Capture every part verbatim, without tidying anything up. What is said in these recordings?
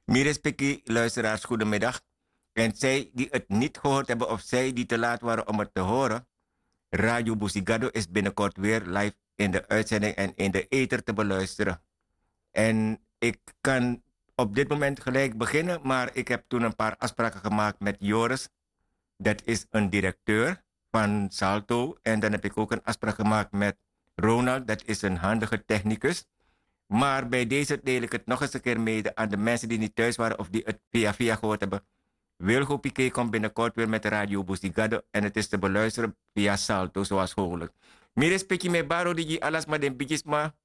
Mi respeki luisteraars, goedemiddag. En zij die het niet gehoord hebben of zij die te laat waren om het te horen, Radio Busigado is binnenkort weer live in de uitzending en in de ether te beluisteren. En ik kan op dit moment gelijk beginnen, maar ik heb toen een paar afspraken gemaakt met Joris. Dat is een directeur van Salto. En dan heb ik ook een afspraak gemaakt met Ronald, dat is een handige technicus. Maar bij deze deel ik het nog eens een keer mede aan de mensen die niet thuis waren of die het via via gehoord hebben. Wilgo Piqué komt binnenkort weer met Radio Busigado en het is te beluisteren via Salto, zoals gewoonlijk. Mi respeki, mi e bari odi gi ala sma, den bigisma,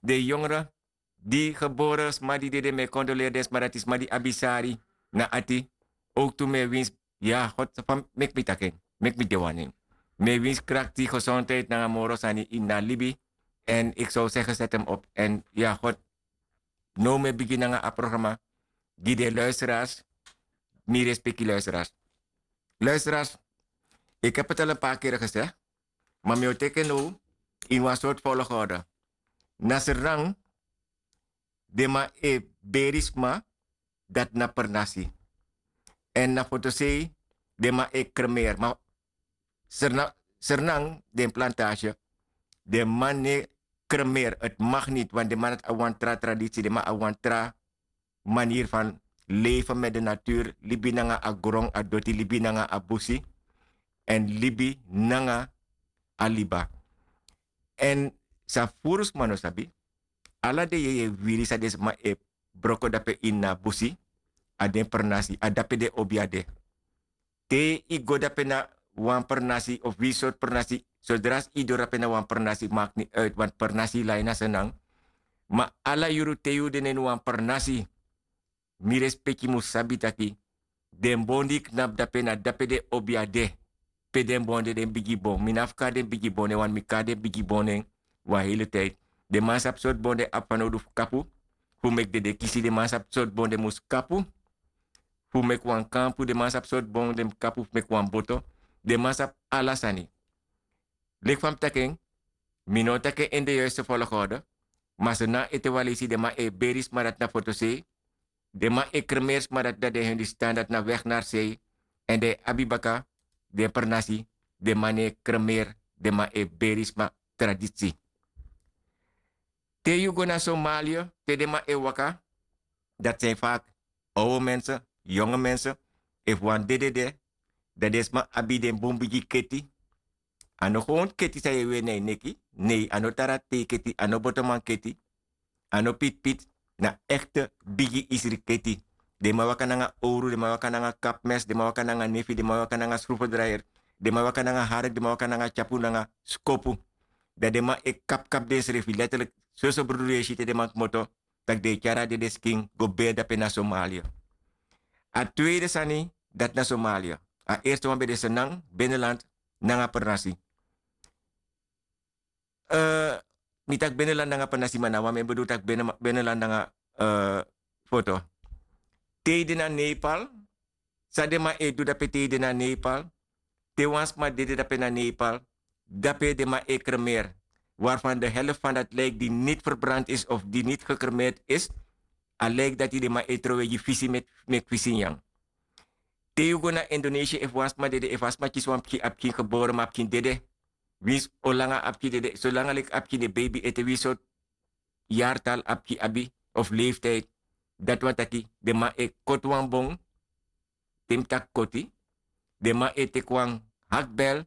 den yongre, di gebore sma di dede, mi e kondoleri den sma dati, sma di abi sari na ati. Ook tu mi e winsi, ya God, fa meki mi taki en, meki mi de wan nen. Mi e winsi krakti, gezondheid nanga moro sani ini a libi. En ik zou zeggen, zet hem op. En ya God, now mi e bigin nanga a programma gi den luisteraars. Mi respeki luisteraars. Luisteraars, ik heb het al een paar keer gezegd, maar mi o teki en now ini wan soort volgorde. Na Sranan, den man e beri sma, dati na Pernasi. En na Fotosei, den man e kremeer. Ma Sranan, Sranan, den Plantage, den man no e kremeer. Het mag niet, want den man dati abi wan tra traditie, den man abi wan tra manier van leven met de natuur. Libi nanga a gron, a doti, libi nanga a busi. En libi nanga a liba. En san furu sma no sabi, ala den yeye wiri san den sma e broko dape ini a busi, a den Pernasi, a dape den obiade. Te yu go dape na wan Pernasi of wi sortu Pernasi, sodra yu doro dape na wan Pernasi, maakt niet uit, want Pernasi lai na Sranan. Ma ala yuru te yu de na ini wan Pernasi, mi respeki mus sabi taki den bon di knapu dape, na dape den obiade. Pe den bon de, den bigi bon. Mi no abi fu kari den bigi bon nen, want mi kari den bigi bon nen wan hele tijd. Den man sabi sortu bon den abi fanowdu fu kapu, fu meki dede kisi. Den man sabi sortu bon den mus kapu fu meki wan kampu. Den man sabi sortu bon den mus kapu fu meki wan boto. Den man sabi ala sani. Leki fa mi taki en, mi no o taki en ini de juiste volgorde. Ma Sranan ete wan leisi, den man e beri sma, dati na Fotosei. Den man e kremeer sma, dati na den Hindustan, dati na weg naar zee. En den abi baka den Pernasi, den man no e kremeer, den man e beri sma, traditie. Te yu go na Somalië, te den man e waka, dat zijn vaak oude mensen, jonge mensen. Efu wan dede de, dan den sma abi den bun bigi keti. A no gewoon keti san yu e weri na yu neki. Nee, a no tara tei keti, a no botoman keti, a no pitpit. Na echte bigi isri keti. Den man waka nanga owru, den man waka nanga kapmes, den man waka nanga nefi, den man waka nanga schroevendraaier, den man waka nanga hark, den man waka nanga tyapu nanga skopu. Dan den man e kapkap densrefi, letterlijk. Soso brudu yu e si te den man kmoto, taki den e tyari a dede skin go beri dape na Somalië. A tweede sani, dati na Somalië. A eerste wan ben de Sranan, Beneland nanga Pernasi. Eh, mi taki Beneland nanga Pernasi, ma na wan, mi e bedoel taki Bene-, Beneland nanga, eh, Foto. Te yu de na Nepal, san den man e du dape te yu de na Nepal? Te wan sma dede dape na Nepal, dape den man e kremeer. Waarvan de helft van dat lijk die niet verbrand is of die niet gecremeerd is, a lijk dati den man e trowe gi fisi, meki fisi nyan. Te yu go na Indonesië, efu wan sma dede, efu a sma kisi wan pikin, a pikin gebore, ma a pikin dede. Winsi o langa a pikin dede, solanga leki a pikin de baby ete, winsi sortu jaartal a pikin abi of leeftijd, dati wani taki den man e koti wan bon. Te mi taki koti, den man e teki wan hakbel,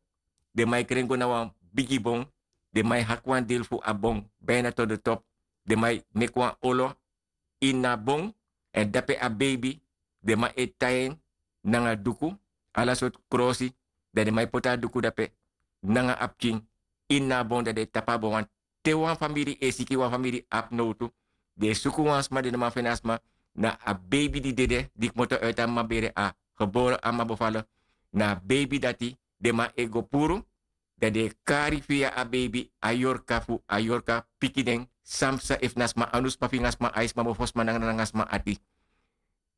den man e kren go na wan bigi bon, den man e haki wan deel fu a bon, bijna tot de top. Den man e meki wan olo ini a bon, èn dape a beibi, den man e tai en nanga duku, ala sortu krosi, dan den man e poti a duku dape nanga a pikin ini a bon, dan den e tapu a bon. Te wan famiri e siki, wan famiri abi nowtu, den e suku wan sma, den no man feni a sma. Na a beibi di dede, di kmoto uit a mama bere, a gebore, a mama bevallen, na a beibi dati den man e go puru. Dan den e kari via a beibi a yorka fu, a yorka piki den, san psa efu na sma anu, sma finga, sma ai, sma mofo, sma nanga nanga sma ati.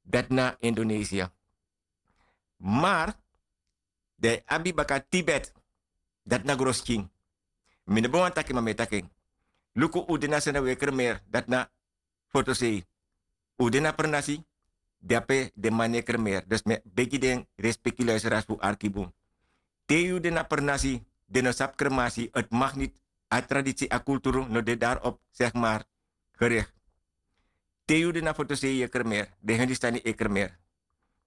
Dati na Indonesië. Maar den e abi baka Tibet, dati na Groskin. Mi no ben wani taki, ma mi e taki en. Luku, un de na Sranan, un e kremeer, dati na Fotosei. Un de na Pernasi, Dape den man no e kremeer. Dus mi e begi den respeki luisteraars fu arki bun. Te yu de na pernasi, den no sabi kremasi, het mag niti. A tradisi, a kulturu no de daarop, zeg maar, gericht. Te yu de na fotosei yu e kremeer, den hindustani e kremeer.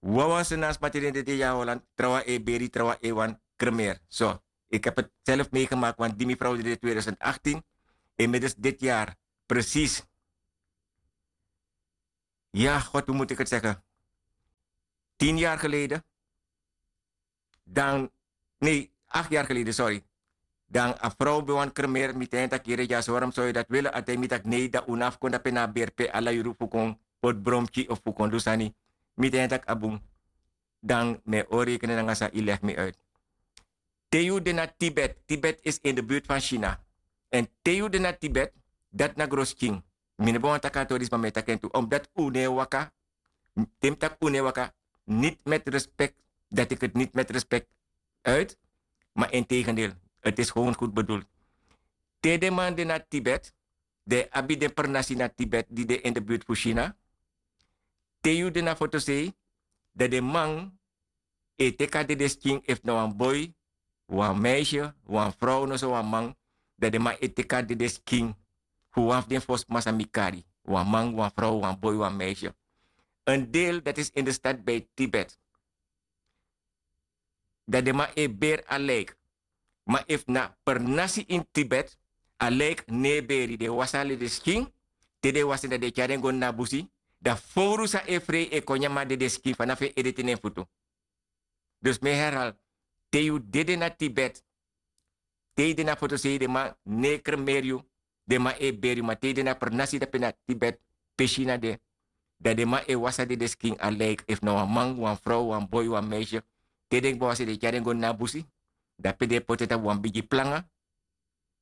Wawan sena sma te den de de ya holland, trawan e beri, trawan e wani kremeer. So, ik heb het zelf meegemaakt, want die mevrouw deed in tweeduizend achttien, inmiddels dit jaar, precies. Ja, god, hoe moet ik het zeggen? Tien jaar geleden. Dan, nee, acht jaar geleden, sorry. Dan a vrouw ben wani kremeer, mi ten taki yere dyaso, waarom zou je dat willen? A ten mi taki nee, dan un no abi kon dape na a beri pe ala yuru fu kon poti bromki of fu kon du sani. Mi ten taki a bun. Dan mi e o rekenen nanga san yu leg mi uit. Te yu de na Tibet, Tibet is in de buurt van China. En te yu de na Tibet, dat na gros king. Mi no ben wani taki a tori, ma mi e taki en tu, omdat un no e waka, te mi taki un no e waka, niet met respect, dat ik het niet met respect uit, maar integendeel, het is gewoon goed bedoeld. Te den man de na Tibet, den abi den pernasi na Tibet, di de in de buurt fu China. Te yu de na fotosei, dat den man e teki a dedeskin, efu na wan boi, wan meisje, wan vrouw, noso wan man, dat den man e teki a dedeskin fu wan fu den fosma san mi kari. Wan man, wan vrouw, wan boi, wan meisje. Een deel dat is in de stad bij Tibet. Dat den man e beri a lijk. Ma efu na pernasi in Tibet, a lijk no e beri, den wasi a dedeskin, te den wasi en dan den tyari en go na busi, dan fowru san e frei e kon nyan a dedeskin fanafu en ede te na en futu. Dus mi e herhaal, te yu dede na Tibet, te yu de na fotosei, den man no e kremeer yu, den man e beri yu, ma te yu de na pernasi dape na Tibet, pe China de, dan den man e wasi a dedeskin, a lijk, efu na wan man, wan vrouw, wan boi, wan meisje, te den kba wasi den tyari en go na busi, dape den e poti en tapu wan bigi planga,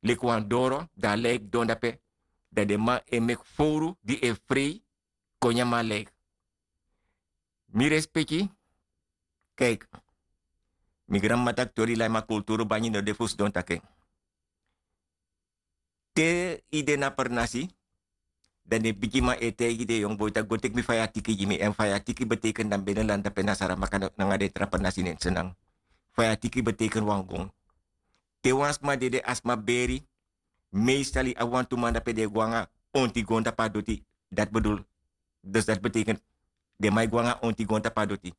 leki wan doro, dan a lijk don dape, dan den man e meki fowru di e frei kon nyan a lijk. Mi respeki, kijk, mi granmama taki tori lai, ma kulturu banyi no de fu sidon taki en. Te yu de na pernasi, dan den bigiman e taigi den yongu boi taki go teki mi faya tiki gi mi, èn faya tiki betekent dan binnenland dape na Saramaka nanga den tra pernasi nen Sranan. Faya tiki betekent wan gon. Te wan sma dede, a sma beri, meestal yu abi wantu man dape den e go nanga onti gon tapu a doti, dat bedoel, dus dat betekent den man e go nanga onti gon tapu a doti.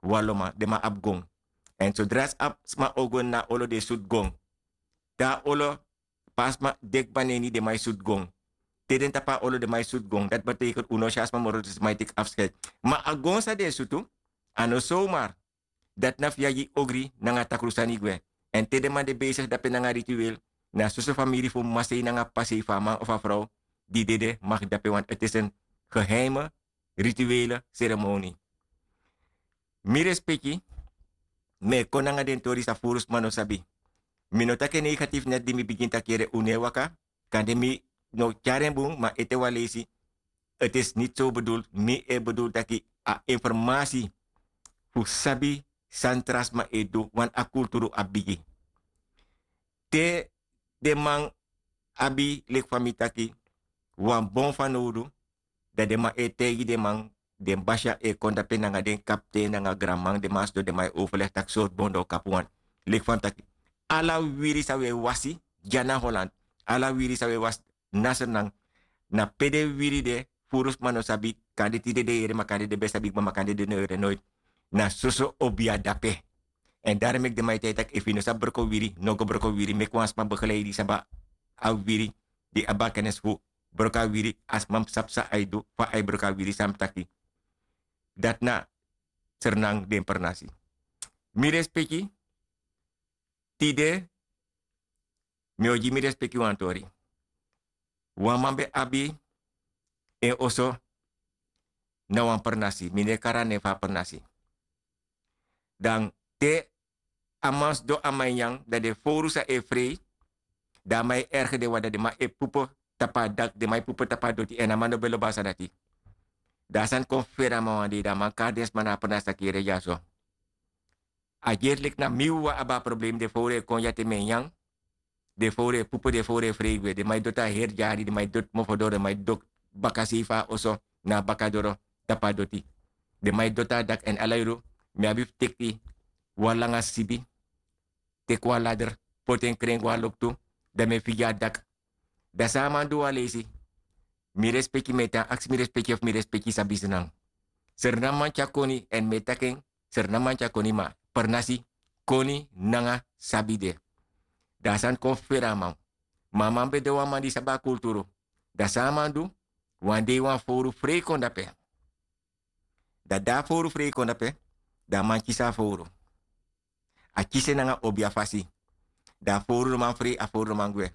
Wan lo man, den man abi gon. Èn sodra a sma o go na olo, den e sutu gon. Te a olo pasa, ma den kba na ini, den man e sutu gon. Te den tapu a olo, den man e sutu gon. Dat betekent un no si a sma moro, dus den man e teki afscheid. Ma a gon san den e sutu, a no zomaar. Dati na fu yagi ogri nanga takru sani gwe. Èn te den man de bezig dape nanga ritueel, na soso famiri fu masei nanga pasei fu a man of a frow di dede mag dape, want het is een geheime rituele ceremonie. Mi respeki, mi e kon nanga den tori san furu sma no sabi. Mi no taki en negatief, net di mi bigin taki yere un no e waka, kande mi no tyari en bun, ma ete wan leisi, het is niet zo bedoeld, mi e bedoel taki a informasi fu sabi san tra sma e du, want a kulturu abi bigi. Te den man abi, leki fa mi taki, wan bon fanowdu, dan den man e taigi den man, den basiya e kon dape nanga den kapten nanga granman, den man sidon, den man e overleg taki sortu bon den o kapu wan. Leki fa mi taki, ala wiri san wi e wasi dya na Holland, ala wiri san wi e wasi na Sranan, na pe den wiri de, furu sma no sabi, kande tide den yere, ma kande den ben sabi kba, ma kande den no yere noiti. Na soso obiya dape. Èn daro meki den man e taigi taki efu yu no sabi broko wiri, no go broko wiri, meki wan sma begeleidi san abi a wiri, di abi a kennis fu broko a wiri, a sma mus sabi san a e du, fa a e broko a wiri, san mi taki. Dati na Sranan den pernasi. Mi respeki, tide mi o gi mi respeki wan tori. Wan man ben abi en oso na wan pernasi, mi no e kari a nen fu a pernasi. Dan te a man sidon, a man e nyan, dan den fowru san e frei, dan a man e ergi den wan, dan den man e pupu tapu a daki, den man e pupu tapu a doti, èn a man no ben lobi a sani dati. Dan a sani kon fuferi a man wan dei, dan a man kari den sma na a pernasi taki yere dyaso. A gerlik na mi wawan abi a problem, den fowru e kon dya te mi e nyan, den fowru e pupu, den fowru e frei gwe, den man e doti a heri dyari, den man e doti mofodoro, den man e doti bakasei fu a oso, na a bakadoro tapu a doti. Den man e doti a dak èn ala yuru mi abi fu teki wan langa sibi, teki wan lader, poti en kren go na loktu, dan mi e figi a dak. Dan san a man du wan leisi? Mi respeki mi e tan aksi mi respeki efu mi respeki sabi snan. Srnaman tyari koni èn mi e taki en, srnaman tyari koni ma pernasi koni nanga sabi de. Dan a sani kon fuferi a man. Ma a man ben de wan man di sabi a kulturu. Dan san a man du? Wan dei wan fowru frei kon dape. Dan di a fowru frei kon dape, dan a man kisi a fowru. A kisi en nanga obia fasi. Dan a fowru no man frei, a fowru no man gwe.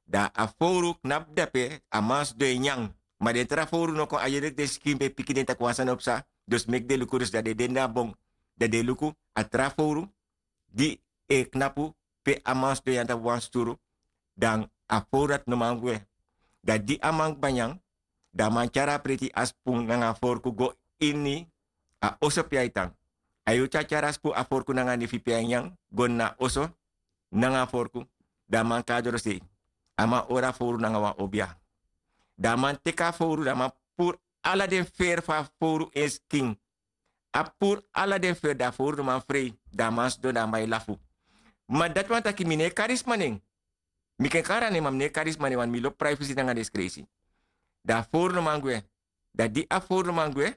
Dan a fowru knapu dape, a man sidon e nyan. Ma den tra fowru no kon, a yere den sikin ben piki den taki wan sani o psa. Dus meki den luku, dus dan den de na bon. Dan den luku a tra fowru di e knapu pe a man sidon nyan tapu wan sturu. Dan a fowru dati no man gwe. Dan di a man kba nyan, dan a man tyari a preti, a spun nanga a forku go ini a oso pe a e tan. A yu tyari tyari a spun, a forku nanga a nifi pe a e nyan go na a oso nanga a forku. Dan a man kon na dorosei. A man hori a fowru nanga wan obia. Dan a man teki a fowru, dan a man puru ala den feri fu a fowru en skin. A puru ala den feri, dan a fowru no man frei. Dan a man sidon, dan a man e lafu. Ma dati wani taki mi no e kari sma nen. Mi kan kari a nen, ma mi no e kari sma nen, want mi lobi privacy nanga den skreisi. Dan a fowru no man gwe. Dan di a fowru no man gwe,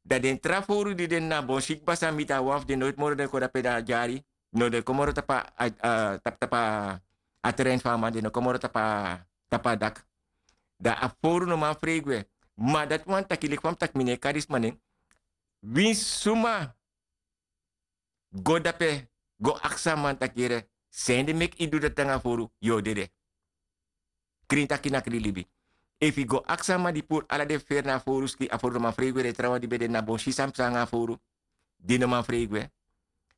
dan den tra fowru di de na bon, si kba san miti a wan fu den, noiti moro den kon dape na a dyari. No, den kon moro tapu a, a, tapu tapu a terrein fu a man, den no kon moro tapu a, tapu a dak. Dan a fowru no man frei gwe. Ma dati wani taki, leki fa mi taki, mi no e kari sma nen. Winsi suma go dape go aksi a man taki: Yere, san ede meki yu du dati nanga a fowru? Yu o dede. Krin taki na krin libi. Efu yu go aksi a man di puru ala den feri na a fowru skin, a fowru no man frei gwe, den trawan di ben de na bon si san psa nanga a fowru, di no man frei gwe.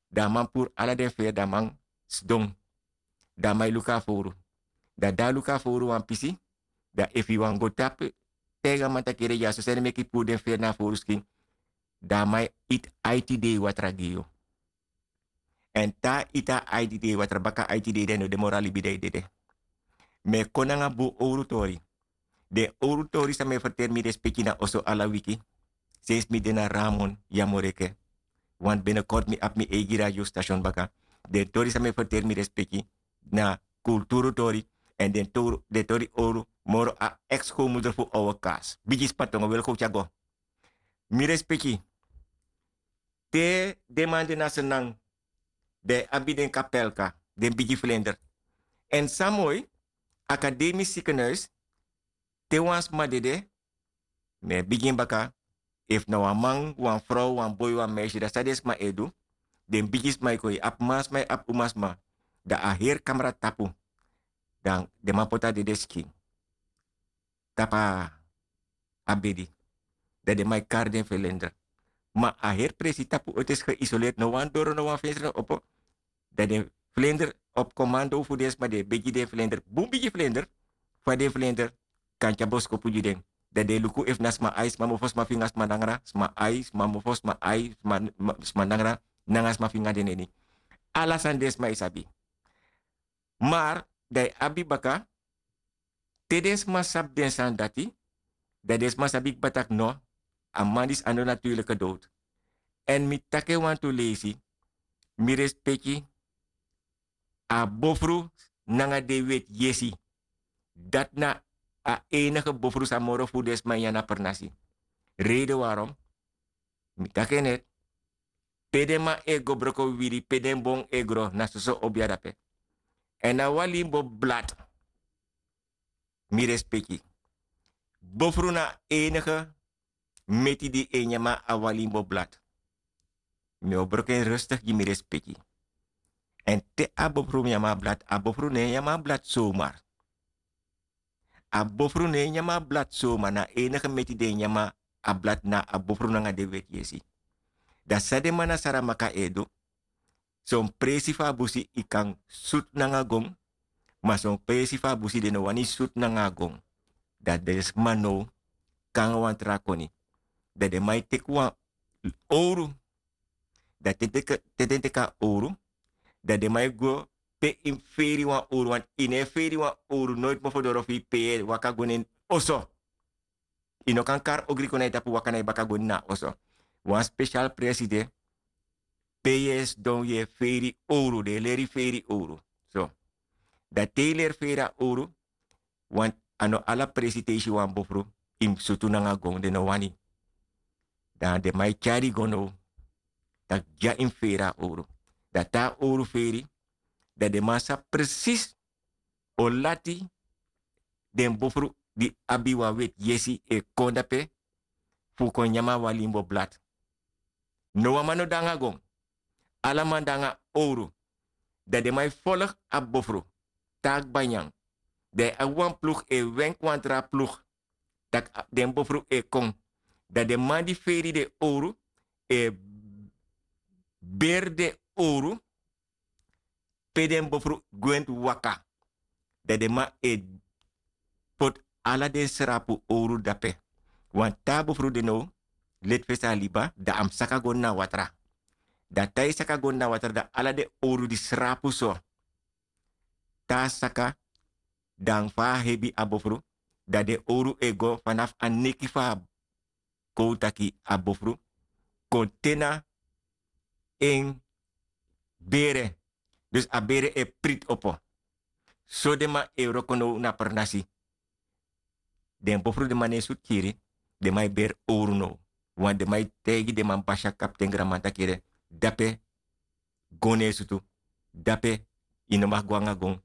Dan a man puru ala den feri, dan a man sidon. Dan a man e luku a fowru. Dan di a luku a fowru wan pisi, dan efu yu wani go tapu taigi a man taki: Yere, dyaso san ede meki yu puru den feri na a fowru skin? Dan a man e iti aiti dei watra gi yu. Èn te a iti a aiti dei watra, baka aiti dei, dan yu no de moro a libi, dan yu dede. Mi e kon nanga bun owru tori. Den owru tori san mi e ferteri, mi respeki, na oso ala wiki. Sensi mi de na Ramon, Yamoreke. Want binnenkort mi abi mi eigi radiostation baka. Den tori san mi e ferteri, mi respeki, na kulturu tori. Èn den tori, den tori owru, moro a ex-schoonmoeder fu Oude Kaas. Bigi spantongo, welkom, tyago. Mi respeki. Te den man de na Sranan, dan yu abi den kapelka, den bigi vlinder. Èn san moi, akademisch ziekenhuis, te wan sma dede, mi e bigin baka, efu na wan man, wan frow, wan boi, wan meisje, dan san den sma e du? Den bigi sma e kon, yu abi mansma, yu abi umasma. Dan a heri kamra tapu. Dan den man poti a dede skin tapu a bedi. Dan den man e kari den vlinder. Ma a heri presi tapu, ete, is geisoleerd, no wan doro, no wan venster no opo. Dan den vlinder, op commando fu den sma, den e begi den vlinder, bun bigi vlinder, fa den vlinder kan tyari boskopu gi den. Dan den e luku efu na sma ai, sma mofo, sma finga, sma nangra, sma ai, sma mofo, sma ai, sma, sma nangra, nanga sma finga, den neni. Ala sani den sma e sabi. Maar dan yu abi baka, te den sma sabi den sani dati, dan den sma sabi kba taki no, a man disi a no natuurlijke dood. Èn mi taki en wantu leisi, mi respeki, a bofru nanga den weti yesi. Dati na a enige bofru san moro fu den sma e nyan na pernasi. Reden waarom, mi taki en net, pe den man e go broko wiwiri, pe den bon e gro, na soso obia dape. Èn na wan limbo blad, mi respeki. Bofru na enige meti di e nyan a wan limbo blad. Mi o broko en rustig gi mi respeki. Èn te a bofru nyan a blad, a bofru no e nyan a blad somar. A bofru no e nyan a blad somar, na enige meti di e nyan a blad na a bofru nanga den weti yesi. Dan san den man na Saramaka e du, son presi fu a busi yu kan sutu nanga gon, ma son presi fu a busi den no wani sutu nanga a gon. Dan den sma now kon nanga wan tra koni. Dan den man e teki wan owru. Dan te den teki, te den teki a owru, dan den man e go pe yu mus feri wan owru, want yu no e feri wan owru noiti mofo doro fu yu pe yu e waka go na en oso. Yu no kan kari ogri kon na yu tapu, waka na yu baka go na a oso. Wan spesial presi de, pe yu e sidon yu e feri owru, den e leri feri owru. So, dan te yu leri feri a owru, want a no ala presi te yu si wan bofru yu mus sutu nanga gon, den no wani. Dan den man e tyari go now, tak' dya yu mus feri a owru. Dan te a owru feri, dan den man sabi presis o lati den bofru di abi wan weti yesi e kon dape fu kon nyan a wan limbo blad. No wan man no de nanga gon. Ala man de nanga owru. Dan den man e folg a bofru te a kba nyan. Dan yu abi wan plug, e wenk wan tra plug, tak' den bofru e kon. Dan den man di feri den owru e beri den owru pe den bofru gwenti waka. Dan den man e poti ala den srapu owru dape. Wan taa bofru de now, leti fesi a liba, dan a mus saka go na watra. Dan te a e saka go na watra, dan ala den owru di srapu so, te a saka, dan fa a hebi a bofru, dan den owru e go fanafu a neki fu a, kon taki, a bofru kon te na en bere. Dus a bere e priti opo. So den man e wroko now na pernasi. Den bofru, den man no e sutu kiri, den man e beri owru now. Want den man e taigi den man basi, a kapten, granman taki yere, dape gon no e sutu, dape yu no mag go nanga gon.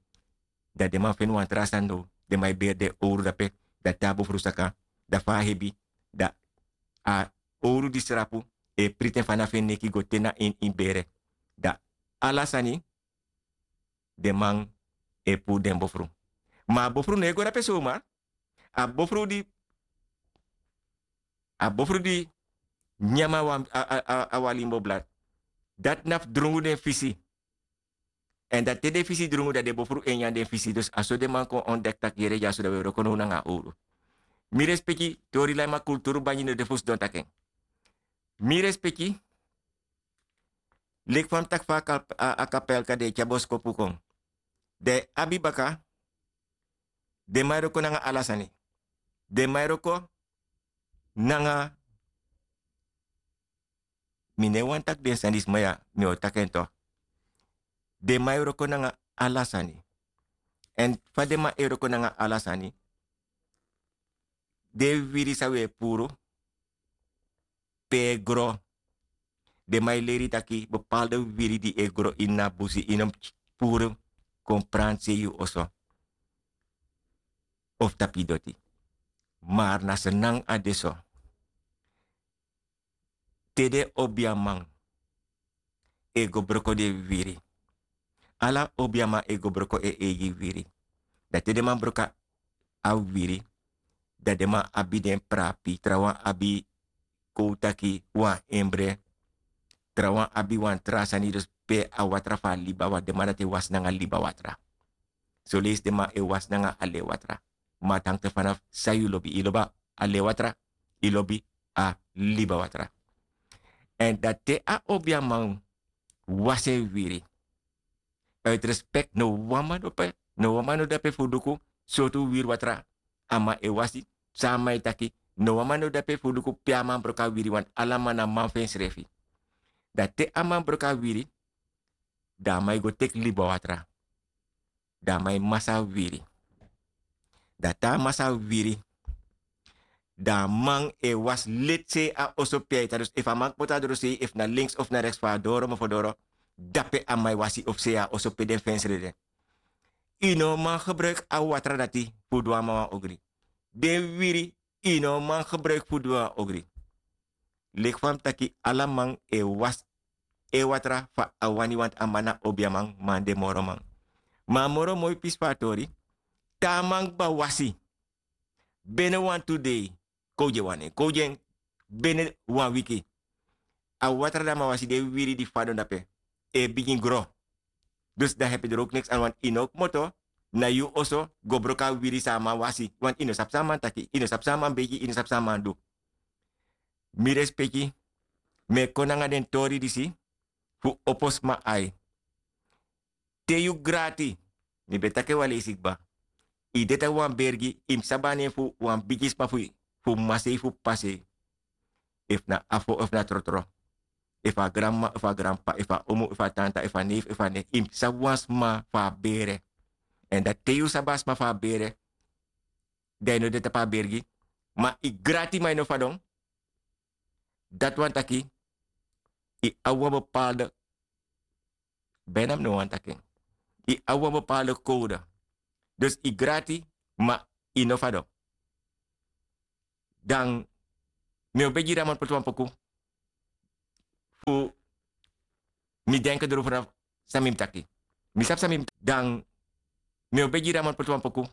Dan den man feni wan tra sani now, den man e beri den owru dape. Dan te a bofru saka, dan fa a hebi, dan a owru di srapu e priti en fanafu en neki go te na ini en bere. Dan ala sani den man e puru den bofru. Ma a bofru no e go dape somar. A bofru di, a bofru di nyan a wan, a, a, a, a wan limbo blad, dati na fu drungu den fisi. Èn dan te den fisi drungu, dan den bofru e nyan den fisi. Dus a so den man kon ontdek taki yere, dyaso dan wi e wroko now nanga owru. Mi respeki, tori lai, ma kulturu banyi no de fu sidon taki en. Mi respeki, leki fa mi taki fa a kap-, a, a kapel kande e tyari boskopu kon. Den abi baka, den man e wroko nanga ala sani. Den man e wroko nanga, mi no e wani taki den sani disi, ma ya, mi o taki en toch. Den man e wroko nanga ala sani. Èn fa den man e wroko nanga ala sani, den wiwiri san wi e puru, pe e gro. Den man e leri taki bepaalde wiwiri di e gro ini a busi, yu no mus puru kon pranti sei yu oso of tapu yu doti. Ma na so nanga a de so. Te den obiaman e go broko den wiwiri. Ala obiaman e go broko en eigi wiwiri. Dan te den man broko a wiwiri, dan den man abi den prapi, trawan abi, kon taki, wan embre, trawan abi wan tra sani, dus pe a watra fu a liba watra, den man dati e wasi nanga liba watra. Soleisi den man e wasi nanga a lei watra. Ma a tan te fanafu san yu lobi, yu lobi a lei watra, yu lobi a liba watra. Èn dan te a obiaman wasi en wiwiri, uit respect, no wan man no pe, no wan man no dape fu luku sortu wiwiri watra a man e wasi, san a man e taki, no wan man no dape fu luku pe a man broko a wiwiri, want ala man na man fu ensrefi. Dan te a man broko a wiwiri, dan a man e go teki liba watra. Dan a man e masa a wiwiri. Dan te a masa a wiwiri, dan a man e wasi leti sei a oso pe a e tan. Dus efu a man kmoto a doro sei, efu na links of na rechts fu a doro mofo doro, dape a man e wasi of sei a oso pe den fensre de. Yu no man gebruiki a watra dati fu du a man wan ogri. Den wiwiri, yu no man gebruiki fu du a ogri. Leki fa mi taki, ala man e wasi en watra fa a wani, want a man na obiaman, man de moro man. Ma a moro moi pisi fu a tori, te a man kba wasi, bene wantu dei, kon gi en wan nen, kon gi en bene wan wiki, a watra di a man wasi, den wiwiri di fadon dape e bigin gro. Dus dan hebi doro ook niks aan, want yu no kmoto na yu oso go broko a wiwiri san a man wasi, want yu no sabi san a man taki, yu no sabi san a man begi, yu no sabi san a man du. Mi respeki, mi e kon nanga den tori disi fu opo sma ai. Te yu grati, mi ben taki en wan leisi kba. Yu de tapu wan bergi, yu mus sabi a nen fu wan bigi sma fu, fu masei fu pasei. efu na afo efu na trotro, efu a granmama efu a granpapa efu a omu efu a tanta efu a nefi efu a nefi yu mus sabi wan sma fu a bere. Èn dati te yu sabi a sma fu a bere, dan yu no de tapu a bere gi. Ma yu grati ma yu no fadon. Dati wani taki yu abi wan bepalde bina mi no wani taki en. Yu abi wan bepalde kowde. Dus yu grati ma yu no fadon. Dan mi o begi yu dan man poti wan poku fu mi denke doro fu na san mi mus taki. Mi sabi san mi mus taki dan mi o begi yu dan man poti wan poku.